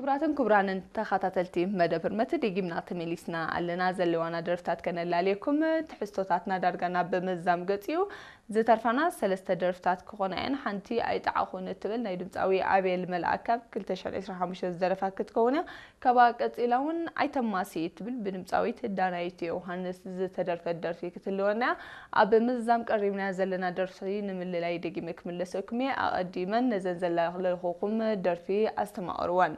ክቡራትን ክቡራንን ተኸታተልቲ መደብ ህርመት፣ ደጊምና ተመሊስና ኣለና። ዘለዋና ደርፍታት ከነላልየኩም፣ ትሕዝቶታትና ዳርጋ ናብ ምዛም ገጽ እዩ። ዝተርፋና ሰለስተ ደርፍታት ክኾና እየን። ሓንቲ ኣይጠዓኹን እትብል ናይ ድምፃዊ ኣቤል መልኣክ ካብ ክልተ ሽሕን ዕስራን ሓሙሽተን ዝደረፋ ክትከውን እያ። ካብኣ ቀጺላ እውን ኣይተማሲ እትብል ብድምፃዊት ዳናይት ዮሃንስ ዝተደርፈት ደርፊ ክትህልወና እያ። ኣብ ምዛም ቀሪብና ዘለና ደርፊ ንምልላይ ደጊመ ክምለሰኩም እየ። ኣቐዲመን ነዘን ዘላለኹኹም ደርፊ ኣስተማቕርወን።